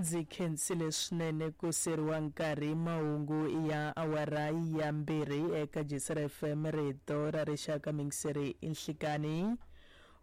Ndzi khensile swinene ku seriwa nkarhi. Mahungu ya awara ya 2 eka Jisera FM, rito ra rixaka, mingiseri inhlikani.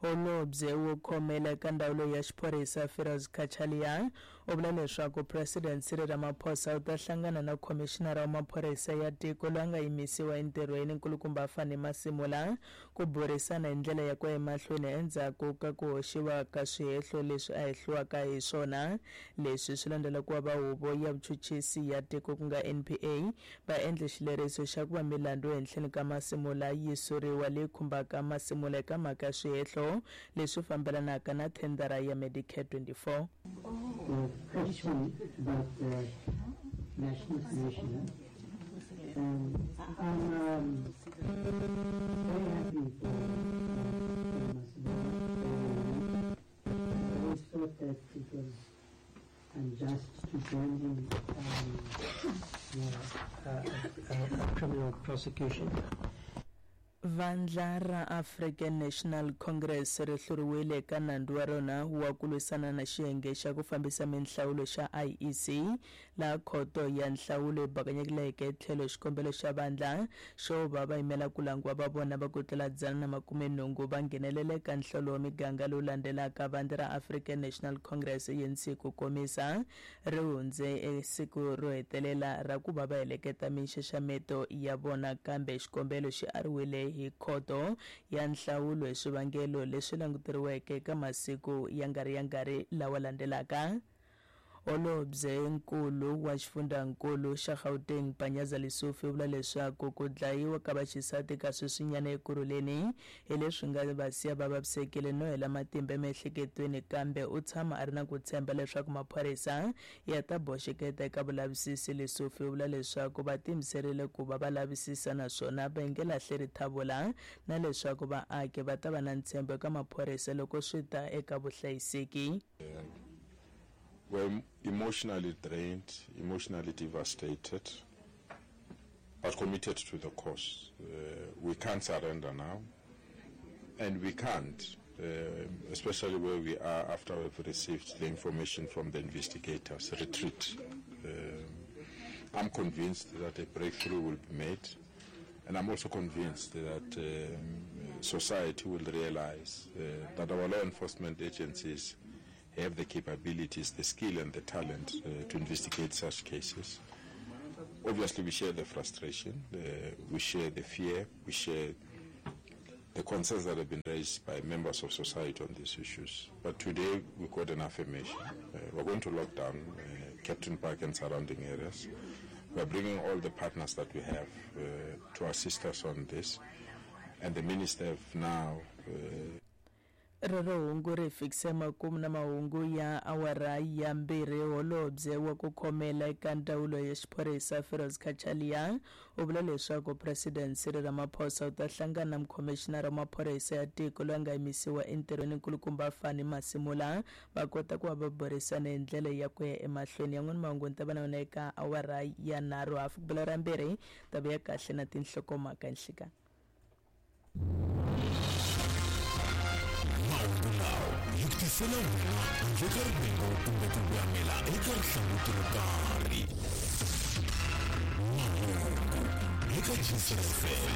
Holobye wo khomela eka ndzawulo ya xiphorisa Firoz Cachalia u vula leswaku President Cyril Ramaphosa u ta hlangana na khomixinara wa maphorisa ya tiko loyi a nga yimisiwa entirhweni nkulukumba Fani Masimula ku burisana hi ndlela ya ku ya emahlweni endzhaku ka ku hoxiwa ka swihehlo leswi a hehliwaka hi swona. Leswi swi landzela ku va huvo ya vuchuchisi ya tiko ku nga NPA va endle xileriso xa ku va milandzu ehenhleni ka Masimula yi suriwa leyi khumbaka Masimula eka mhaka ya swihehlo leswi fambelanaka na thendara ya Medicare 24. The question about the National Commissioner. I'm very happy for Masimula. I always thought that it was unjust to join him a criminal prosecution. Vandla ra African National Congress ri hluriwile eka nandzu wa rona wa ku lwisana na xiyenge xa ku fambisa minhlawulo xa IEC, laha khoto ya nhlawulo yi bakanyekileke tlhelo xikombelo xa vandla xo va va yimela ku langiwa va vona va ku tlula 180 va nghenelela eka nhlawulo wa miganga lowu landzelaka. Vandla ra African National Congress ANC ku komisa ri hundze siku ro hetelela ra ku va va heleketa minxaxameto ya vona, kambe xikombelo xi ariwile hi khoto ya nhlawulo hi swivangelo leswi languteriweke eka masiku ya nga ri ya ngari lawa landzelaka. Holobye nkulu wa xifundzankulu xa Gauteng Panyaza Lesufi u vula leswaku ku dlayiwa ka vaxisati ka sweswinyana eKurhuleni hi leswi nga va siya va vavisekile no hela matimba emiehleketweni, kambe u tshama a ri na ku tshemba leswaku maphorisa ya ta boxeketa eka vulavisisi. Lesufi u vula leswaku va tiyimiserile ku va va lavisisa naswona va nge lahleri thavula, na leswaku vaaki va ta va na ntshembo eka maphorisa loko swi ta eka vuhlayiseki. We're emotionally drained, emotionally devastated, but committed to the cause. We can't surrender now, and we can't, especially where we are after we've received the information from the investigators, retreat. I'm convinced that a breakthrough will be made, and I'm also convinced that society will realize that our law enforcement agencies have the capabilities, the skill and the talent to investigate such cases. Obviously, we share the frustration, we share the fear, we share the concerns that have been raised by members of society on these issues. But today, we got an affirmation. We're going to lock down Kempton Park and surrounding areas. We're bringing all the partners that we have to assist us on this. And the minister have now... Rero hungu ri fikise makumu na mahungu ya awara ya 2. Holobye wa ku khomela eka ndzawulo ya xiphorisa Firoz Cachalia u vula leswaku President Cyril Ramaphosa u ta hlangana na mukhomixinara wa maphorisa ya tiko loyi a nga yimisiwa entirhweni nkulukumba Fani Masimula va kota ku va va burisana hi ndlela ya ku ya emahlweni. Yan'wana mahungu ni ta va na yona eka awara ya 3 hafu ku bela ra 2 ta vuya kahle na tinhlokomhaka nhlika. Mahungu lawa yi tisela wena handle ka rivengo kumbe ku voyamela eka rihlanguti ro karhi. Mahungu eka Jisera FM.